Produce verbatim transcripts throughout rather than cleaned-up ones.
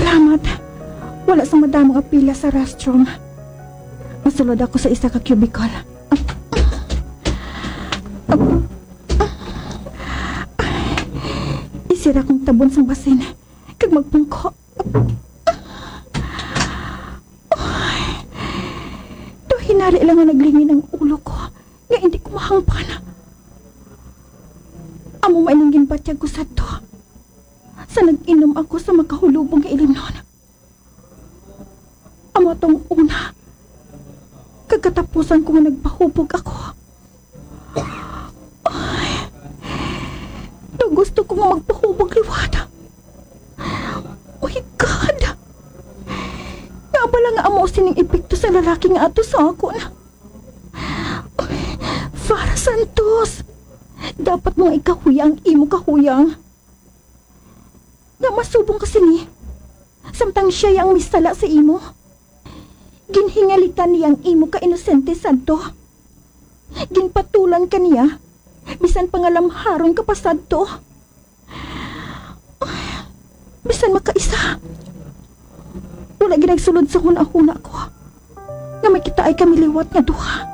Salamat. Wala sang madamo nga pila sa restroom. Masulod ako sa isa ka cubicle. Isira kong tabon sang basin kag magpungko. Daw hinari lang nga naglingin ang ulo ko nga hindi ko mahangpan. Amo man ining ginbatyag ko sadto sa nag-inom ako sa makahulubong nga ilimnon. Amo tong una kag katapusan ko nga nagpahubog ako. Ay, daw gusto ko nga magpahubog liwat. Oh my God! Nga bala nga amo sining epekto sa lalaki nga ato sa akon. Farah Santos, dapat mo nga ikahuya ang imo kahuyang. Nga masubong ka sini, samtang siya ang misala sa imo. Ginhingalitan niya ang imo ka inosente sadto. Ginpatulan ka niya, bisan pa nga lamharon ka pa sadto. Bisan makaisa, wala gid nagsulod sa hunahuna ko nga may kitaay kami liwat nga duha.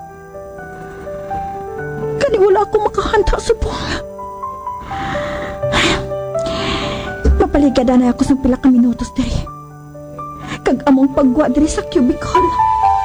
Kani wala ako makahanda subong. Mapaligad anay ako sang pila ka minutos diri, kag among paggwa diri sa cubicle.